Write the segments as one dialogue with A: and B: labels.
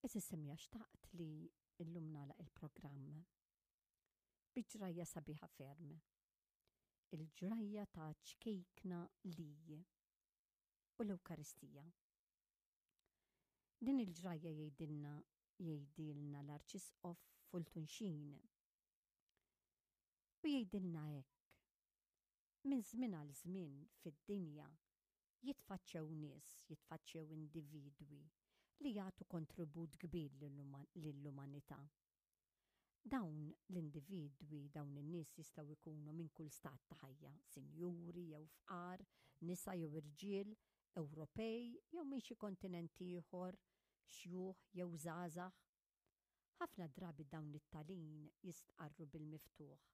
A: Għeżież semmiegħa xtaqt li llum nagħlaq il-programm bi ġrajja sabiħa ferm. Il-ġrajja ta' ċkejkna li u l-Ewkaristija. Din il-ġrajja jgħidilna jgħidilna l-Arċisqof Fulton Sheen. U jgħidilna hekk. Minn żmien għal żmien fid-dinja jitfaċċew nies, jitfaċċew individwi li jagħtu kontribut kbir lill-umanità. Dawn l-individwi, dawn in-nies jistgħu jkunu minn kull stat ta' ħajja, sinjuri jew fqar, nisa jew irġiel, Ewropej jew minn xi kontinent ieħor, xjuħ jew żgħażagħ. Ħafna drabi dawn it-talin jistqarru bil-miftuħ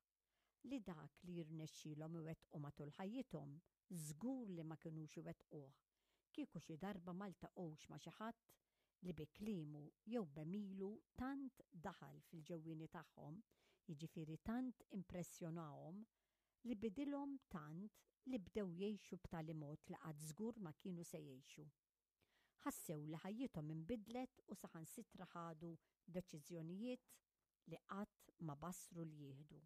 A: li dak li jirnexxielhom iwettqu matul ħajjithom żgur li ma kinux iwettquh kieku xi darba ma ltaqgħux ma' xi ħadd li bi kliemu jew b'għemilu tant daħal fil-ġewwieni tagħhom, jiġifieri tant impressjonahom li bidilhom tant li bdew jgħixu b'tali mod li qatt żgur ma kienu se jgħixu. Ħassew li ħajjithom inbidlet u saħansitra ħadu deċiżjonijiet li qatt ma bassru li jieħdu.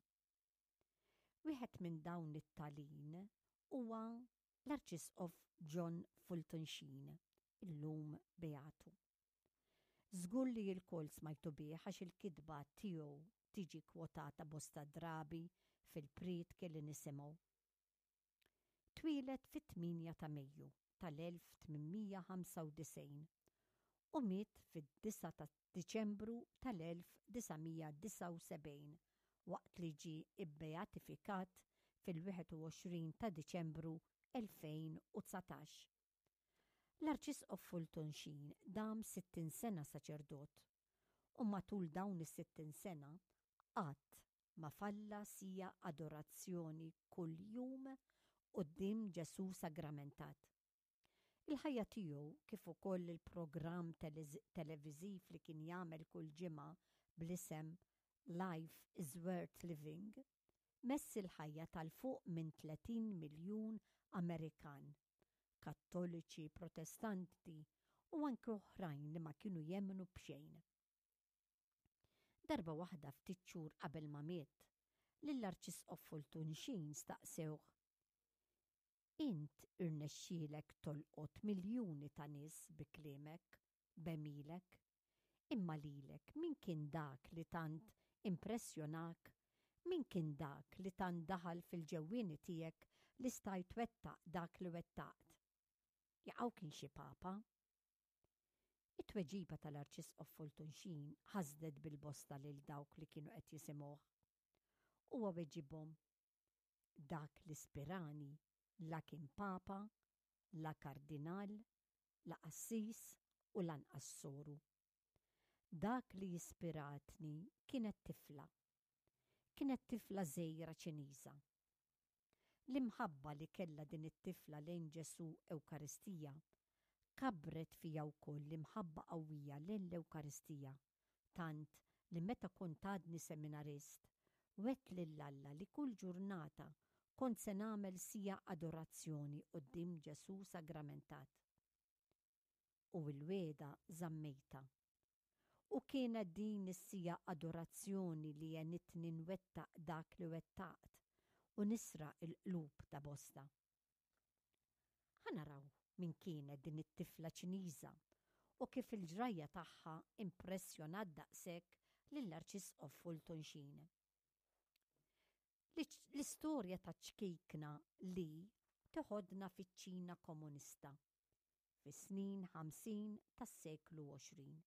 A: Wieħed minn dawn it-talin huwa l-Arċisqof John Fulton Sheen, illum Beatu. Żgur li lkoll smajtu bih għax il-kitba tiegħu tiġi kwotata bosta drabi fil-prietki li nisimgħu. Twieled fit-8 ta' Mejju tal-1895 u miet fid-9 ta' Diċembru tal-1979 waqt li ġie bbeatifikat fil-21 ta' Diċembru 2019. L-Arċisqof Fulton Sheen dam 60 sena saċerdot u matul dawn is-60 sena qatt ma falla siegħa adorazzjoni kuljum quddiem Ġesù Sagramentat. Il-ħajja tiegħu kif ukoll il-programm televiżiv li kien jagħmel kull ġimgħa bl-isem Life is Worth Living mess il-ħajja ta' 'l fuq minn 30 miljun Amerikan, Kattoliċi, Protestanti u anke oħrajn li ma kienu jemmnu b'xejn. Darba waħda ftit xhur qabel ma miet, lill-Arċisqof Fulton Sheen staqsewh, Int irnexxielek tolqot miljuni ta' nies bi kliemek, b'għemilek, imma lilek min kien dak li tant impressjonak, min kien dak li tant daħal fil-ġewwieni tiegħek li stajt twettaq dak li wettaqt? Jaqaw kien xi papa? It-tweġiba tal-Arċisqof Fulton Sheen ħasdet bil-bosta lil dawk li kienu qed jisimgħuh. Huwa weġibhom, Dak li spirani la kien Papa, la Kardinal, la qassis u lanqas soru. Dak li ispiratni kienet tifla. Kienet tifla żgħira Ċiniża. L-imħabba li kellha din it-tifla lejn Ġesù Ewkaristija kabbret fija wkoll l-imħabba qawwija lejn l-Ewkaristija, tant li meta kont għadni seminarist, wegħdt lil Alla li kull ġurnata kont se nagħmel siegħa adorazzjoni quddiem Ġesù Sagramentat. U l-wegħda żammejtha. U kienet din is-siegħa adorazzjoni li għenitni nwettaq dak li wettaqt u nisraq il-qlub ta' bosta. Ħa naraw min kienet din it-tifla Ċiniża u kif il-ġrajja tagħha impressjonat daqshekk lill-Arċisqof Fulton Sheen. L-istorja taċ-ċkejkna Li teħodna fiċ-Ċina komunista fis-snin 50 tas-seklu 20.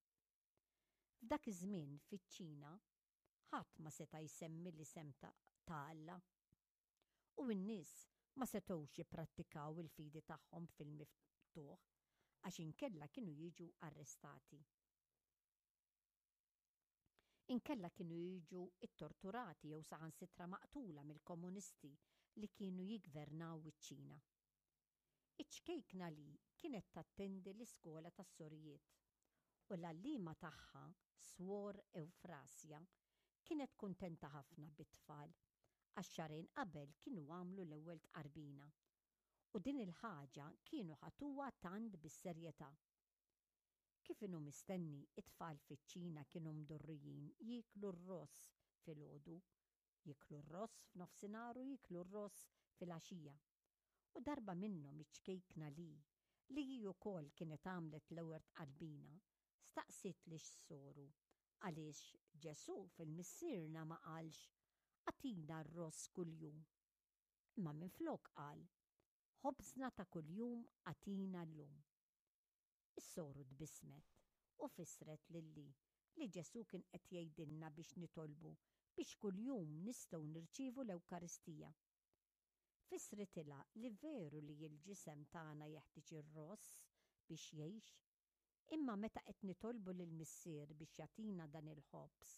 A: F'dak iż-żmien fiċ-Ċina ħadd ma seta' jsemmi l-isem ta' Alla. U n-nies ma setgħux jipprattikaw il-fidi tagħhom fil-miftuħ għax inkella kienu jiġu arrestati. Inkella kienu jiġu ttorturati jew saħansitra maqtula mill-komunisti li kienu jiggvernaw iċ-Ċina. Iċ-ċkejkna Li kienet tattendi l-iskola tas-sorijiet u l-għalliema tagħha, Swor Ewfrasja, kienet kuntenta ħafna bit-tfal għax xahrejn qabel kienu għamlu l-ewwel tqarbina u din il-ħaġa kienu ħatuha tant bis-serjetà. Kif Kif inhu mistenni, it-tfal fiċ-Ċina kienu mdorrijin jieklu r-ross filgħodu, jieklu r-ross f'nofsinhar u jieklu r-ross filgħaxija. U darba minnhom iċ-ċkejkna Li, li hi wkoll kienet għamlet l-ewwel tqarbina, staqsiet lix-soru għaliex Ġesù fil-Missierna ma qalx, Agħtina r-ross kuljum. Imma minflok qal, Ħobżna ta' kuljum agħtina llum. Is-soru tbissmet u fissret lil Li li Ġesù kien qed jgħidilna biex nitolbu biex kuljum nistgħu nirċievu l-Ewkaristija. Fissritilha li veru li l-ġisem tagħna jeħtieġ ir-ross biex jgħix, imma meta qed nitolbu lill-Missier biex jagħtina dan il-ħobż,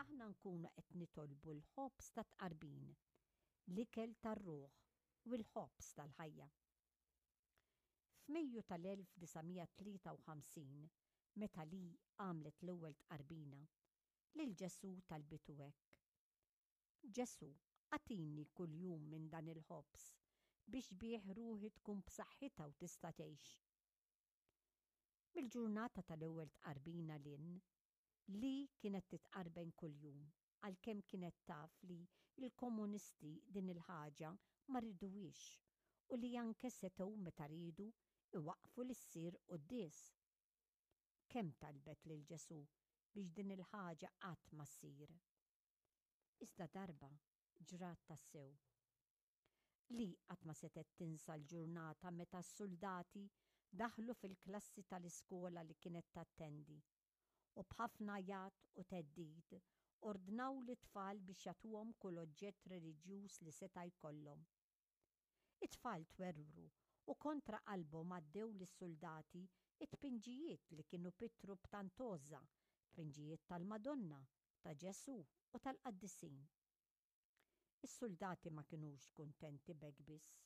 A: aħna nkunu qed nitolbu l-ħobż tat-tqarbin, l-ikel tar-ruħ u l-ħobż tal-ħajja. F'Mejju tal-1953, meta Lee għamlet l-ewwel tqarbina, lil Ġesù talbitu hekk, Ġesù, agħtini kuljum minn dan il-ħobż, biex bih ruħi tkun b'saħħitha u tista' tgħix. Mill-ġurnata tal-ewwel tqarbina 'l hinn, Lee kienet titqarben kuljum, għalkemm kienet taf li l-komunisti din il-ħaġa ma riduhiex u li anke setgħu meta riedu iwaqqfu li ssir quddies. Kemm talbet lil Ġesù biex din il-ħaġa qatt ma ssir. Iżda darba ġrat tassew. Li qatt ma setgħet tinsa l-ġurnata meta s-suldati daħlu fil-klassi tal-iskola li kienet tattendi u b'ħafna għajat u theddid ordnaw lit-tfal biex jagħtuhom kull oġġett reliġjuż li seta' jkollhom. It-tfal twerwru u kontra qalbhom għaddew lis-suldati t-tpinġijiet li kienu pittru b'tant għożża, tpinġijiet tal-Madonna, ta' Ġesù u tal-qaddisin. Is-suldati ma kinux kuntenti b'hekk biss.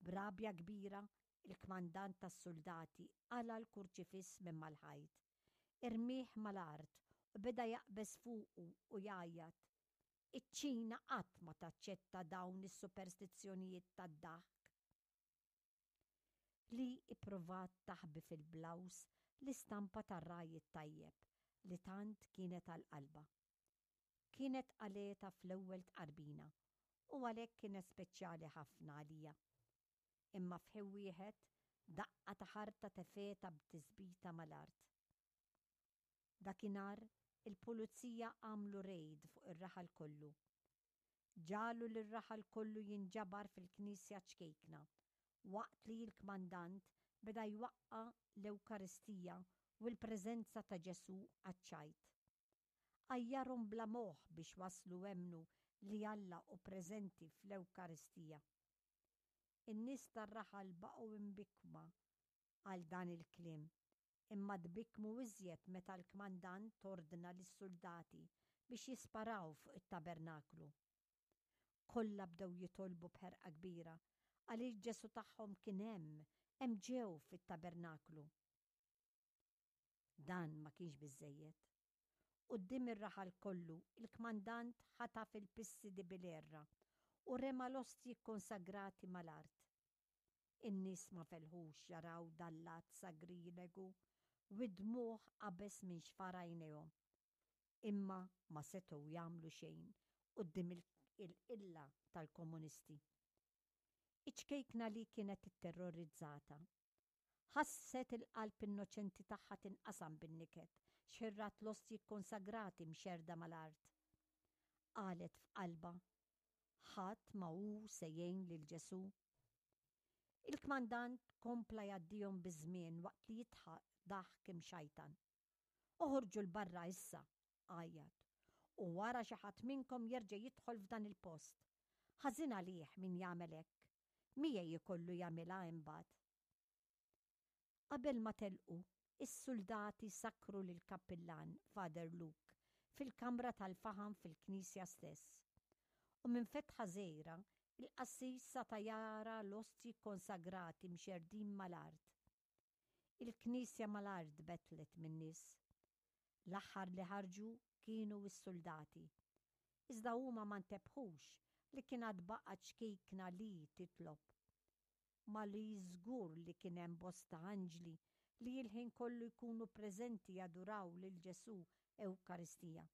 A: B'rabja kbira, il-kmandant tas-suldati qala' l-kurċifiss minn mal-ħajt, irmieh mal-art u beda jaqbeż fuqu u jgħajjat, Iċ-Ċina qatt ma taċċetta dawn is-superstizzjonijiet tad-daħk. Li ppruvat taħbi fil-blouse l-istampa tar-ragħaj it-tajjeb li tant kienet għal qalbha. Kienet qalgħetha fl-ewwel tqarbina u għalhekk kienet speċjali ħafna għalija. Imma f'ħin wieħed, daqqa ta' ħarta tefgħetha b'tisbita mal-art. Dakinhar il-pulizija għamlu rejd fuq ir-raħal kollu. Ġagħlu lir-raħal kollu jinġabar fil-knisja ċkejkna, waqt li l-kmandant beda jwaqqa' l-Ewkaristija u l-preżenza ta' Ġesù għaċ-ċajt. Għajjarhom bla moħħ biex waslu emmnu li Alla hu preżenti fl-Ewkaristija. In-nies tar-raħal baqgħu imbikkma għal dan il-kliem, imma tbikkmu iżjed meta l-kmandant ordna lis-suldati biex jisparaw fuq it-tabernaklu. Kollha bdew jitolbu b'ħerqa kbira għaliex Ġesù tagħhom kien hemm, hemm ġew fit-tabernaklu. Dan ma kienx biżżejjed. Quddiem ir-raħal kollu, il-kmandant ħataf il-pissi di Bilerra u rema l-ostji kkonsagrati mal-art. In-nies ma felħux jaraw dan l-att sagrilegu u d-dmugħ qabeż minn xfar għajnejhom. Imma ma setgħu jagħmlu xejn quddiem il-qilla tal-komunisti. Iċ-ċkejkna li kienet itterrorizzata. Ħasset il-qalb innoċenti tagħha tinqasam bin-niket x'ħin rat l-ostji kkonsagrati mxerrda mal-art. Qalet f'qalbha, Ħadd ma hu se jgħin lil Ġesù. Il-kmandant kompla jgħaddihom biż-żmien waqt li jidħaq daħk imxajtan. Oħorġu 'l barra issa! għajjat. U wara xi ħadd minnkom jerġa' jidħol f'dan il-post. Ħażin għalih min jagħmel hekk. Miegħi jkollu jagħmilha imbagħad. Qabel ma telqu, is-suldati sakkru lill-kappillan, Father Luke, fil-kamra tal-faħam fil-knisja stess. U minn fetħa żgħira, il-qassis sata' jara l-ostji kkonsagrati mxerrdin mal-art. Il-knisja mal-art tbettlet min-nies. L-aħħar li ħarġu kienu s-suldati. Iżda huma ma ntebħux li kien għad baqa' ċkejkna li titlob. Ma li żgur li kien hemm bosta anġli li l-ħin kollu jkunu preżenti jaduraw lil Ġesù Ewkaristija.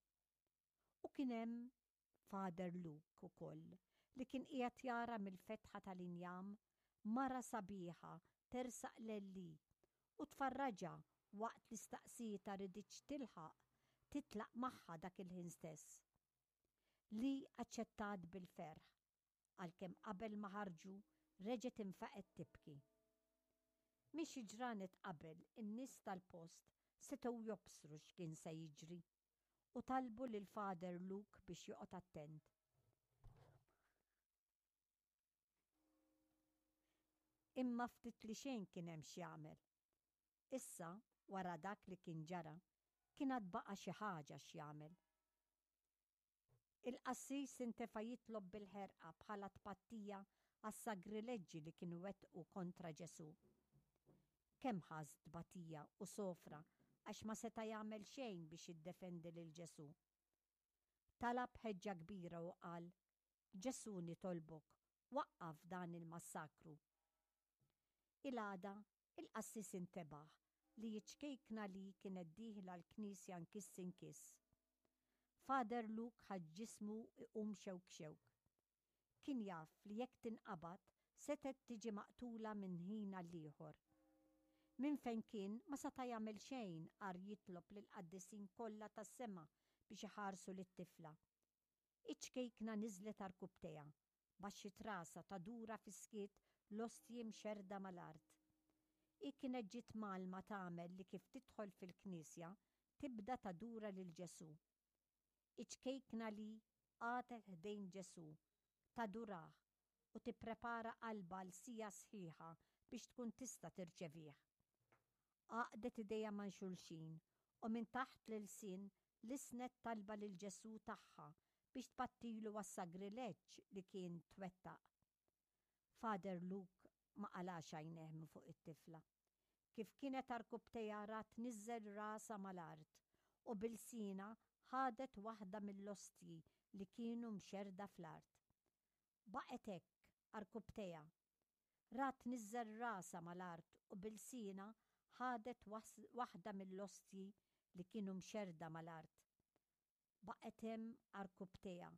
A: U kien hemm Father Luke ukoll li kien qiegħed jara mill-fetħa tal-injam mara sabiħa tersaq lil Lee u tfarraġha waqt li staqsietha riditx tilħaq titlaq magħha dak il-ħin stess. Lee aċċettat bil-ferħ, għalkemm qabel ma ħarġu reġgħet infaqgħet tibki. Minn xi ġranet qabel in-nies tal-post setgħu jobsru x'kien se jiġri u talbu lil Father Luke biex joqgħod attent. Imma ftit li xejn kien hemm x'jagħmel. Issa, wara dak li kien ġara, kien għad baqa' xi ħaġa x'jagħmel. Il-qassis intefa' jitlob bil-ħerqa bħala tpattija għas-sagrileġġi li kienu wettqu kontra Ġesù. Kemm ħass tbatija u sofra għax ma seta' jagħmel xejn biex jiddefendi lil Ġesù. Talab b'ħeġġa kbira u qal, Ġesù nitolbok, waqqaf dan il-massakru. Il-għada, il-qassis intebaħ li ċ-ċkejkna Lee kienet dieħla l-knisja nkiss inkiss. Father Luke ħass ġismu jqum xewk xewk. Kien jaf li jekk tinqabad setgħet tiġi maqtula minn ħin għall-ieħor. Minn fejn kien ma seta' jagħmel xejn għar jitlob lill-qaddisin kollha tas-sema biex iħarsu lit-tifla. Iċ-ċkejkna niżlet għarkupptejha, baxxiet rasha tadura fis-skiet l-ostji mxerrda mal-art. Hi kienet ġiet mgħallma tagħmel li kif tidħol fil-knisja tibda tadura lil Ġesù. Iċ-ċkejkna li qagħdet ħdejn Ġesù, tadurah u tipprepara qalbha għal siegħa sħiħa biex tkun tista' tirċevih. Għaqdet idejha ma' xulxin u minn taħt l-ilsien lissnet talba lil Ġesù tagħha biex tpattilu għas-sagrileġġ li kien twettaq. Father Luke ma qalax għajnejh minn fuq it-tifla. Kif kienet għarkupptejha ra tniżżel rasha mal-art u b'ilsienha ħadet waħda mill-ostji li kienu mxerrda fl-art. Baqgħet hekk, għarkupptejha. Ra tniżżel rasha mal-art u b'ilsienha ħadet waħda mill-ostji li kienu mxerrda mal-art. Baqgħet hemm għarkupptejha,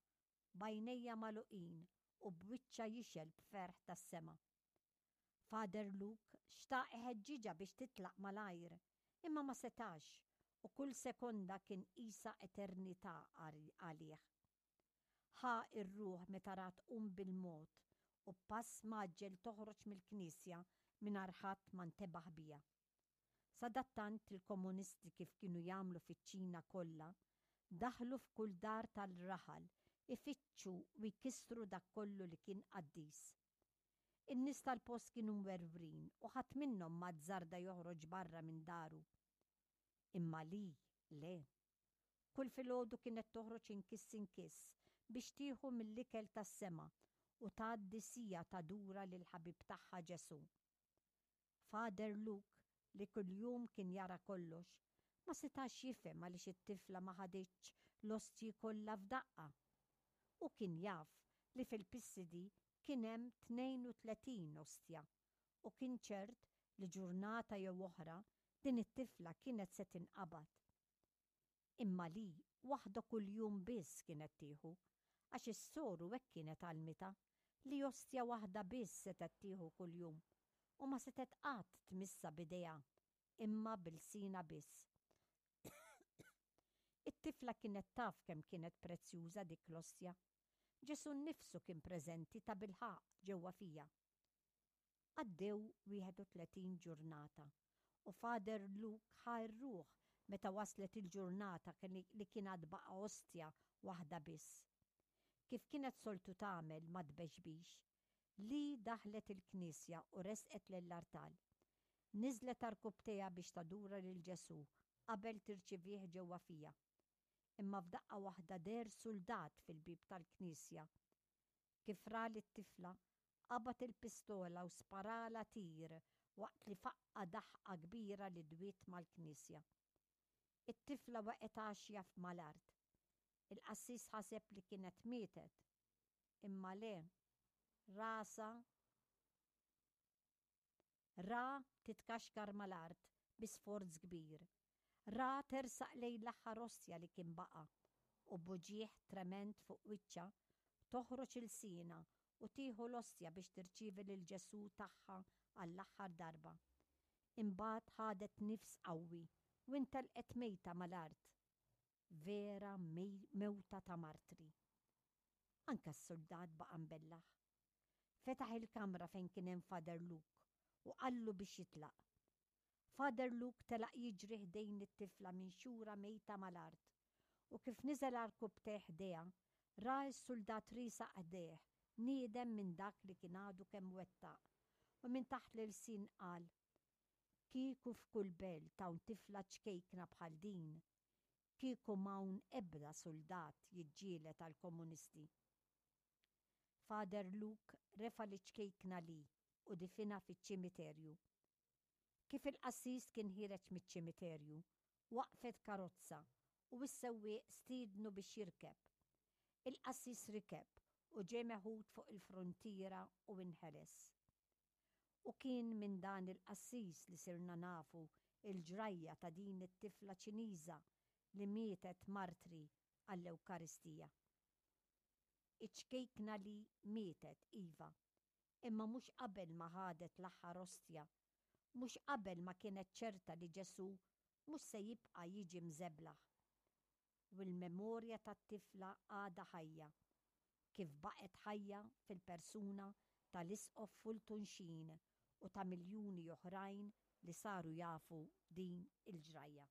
A: b'għajnejha magħluqin u b'wiċċha jixgħel b'ferħ tas-sema. Father Luke xtaq iħeġġiġha biex titlaq malajr, imma ma setax u kull sekonda kien qisha eternità għalih. Ħa r-ruħ meta ra tqum bil-mod u b'pass mgħaġġel toħroġ mill-knisja mingħajr ħadd ma ntebaħ biha. Sadattant il-komunisti kif kienu jagħmlu fiċ-Ċina kollha, daħlu f'kull dar tal-raħal ifittxu u jkissru dak kollu li kien qaddis. In-nies tal-post kienu mwerwrin u ħadd minnhom ma azzarda joħroġ barra minn daru. Imma Lee, le. Kull filgħodu kienet toħroġ inkiss inkiss biex tieħu mill-ikel tas-sema u tgħaddi siegħa tadura lill-ħabib tagħha Ġesù. Father Luke, li kuljum kien jara kollox, ma setax jifhem għaliex it-tifla ma ħaditx l-ostji kollha f'daqqa. Hu kien jaf li fil-pissidi kien hemm 32 ostja u kien ċert li ġurnata jew oħra din it-tifla kienet se tinqabad. Imma li waħda kuljum biss kienet tieħu, għax is-soru hekk kienet għallmitha, li ostja waħda biss setgħet tieħu kuljum, u ma setgħet qatt tmissha b'idejha, imma b'ilsienha biss. It-tifla kienet taf kemm kienet prezzjuża dik l-ostja. Ġesù nnifsu kien preżenti tabilħaqq ġewwa fiha. Għaddew 31 ġurnata u Father Luke ħa r-ruħ meta waslet il-ġurnata li kien għad baqa' ostja waħda biss. Kif kienet soltu tagħmel ma tbexbix, Lee daħlet il-knisja u resqet lill-artal. Niżlet għarkupptejha biex tadura lil Ġesù qabel tirċivih ġewwa fiha. Imma f'daqqa waħda deher suldat fil-bieb tal-knisja. Kif ra lit-tifla, qabad il-pistola u sparalha tir waqt li faqqa' daħqa kbira li dwiet mal-knisja. It-tifla waqgħet għaxja mal-art. Il-qassis ħaseb li kienet mietet. Imma le, rasha ra titkaxkar mal-art. bi sforz kbir. Ra tersaq lejn l-aħħar ostja li kien baqa' u b'uġigħ tremend fuq wiċċha toħroġ ilsienha u tieħu l-ostja biex tirċievi lil Ġesù tagħha għall-aħħar darba. Imbagħad ħadet nifs qawwi u intelqet mejta mal-art. Vera mewta ta' martri. Anke s-suldat baqa' mbellah. Fetaħ il-kamra fejn kien hemm Father Luke u qallu biex jitlaq. Father Luke telaq jiġri ħdejn it-tifla minxura mejta mal-art u kif niżel għarkupptejh ħdejha, ra s-suldat riesaq ħdejh niedem minn dak li kien għadu kemm wettaq u minn taħt l-ilsien qal, Kieku f'kull belt hawn tifla ċkejkna bħal din, kieku m'hawn ebda suldat jiġġieled għall-komunisti. Father Luke refa' liċ-ċkejkna Lee u difinha fiċ-ċimiterju. Kif il-qassis kien ħiereġ miċ-ċimiterju, waqfet karozza u s-sewwieq stiednu biex jirkeb. Il-qassis rikeb u ġie meħud fuq il-fruntiera u inħeles. U kien minn dan il-qassis li sirna nafu l-ġrajja ta' din it-tifla Ċiniża li mietet martri għall-Ewkaristija. Iċ-ċkejkna li mietet, iva, imma mhux qabel ma ħadet l-aħħar ostja, mhux qabel ma kienet ċerta li Ġesù mhux se jibqa' jiġi mżeblaħ. U l-memorja tat-tifla għadha ħajja, kif baqgħet ħajja fil-persuna tal-Isqof Fulton Sheen u ta' miljuni oħrajn li saru jafu din il-ġrajja.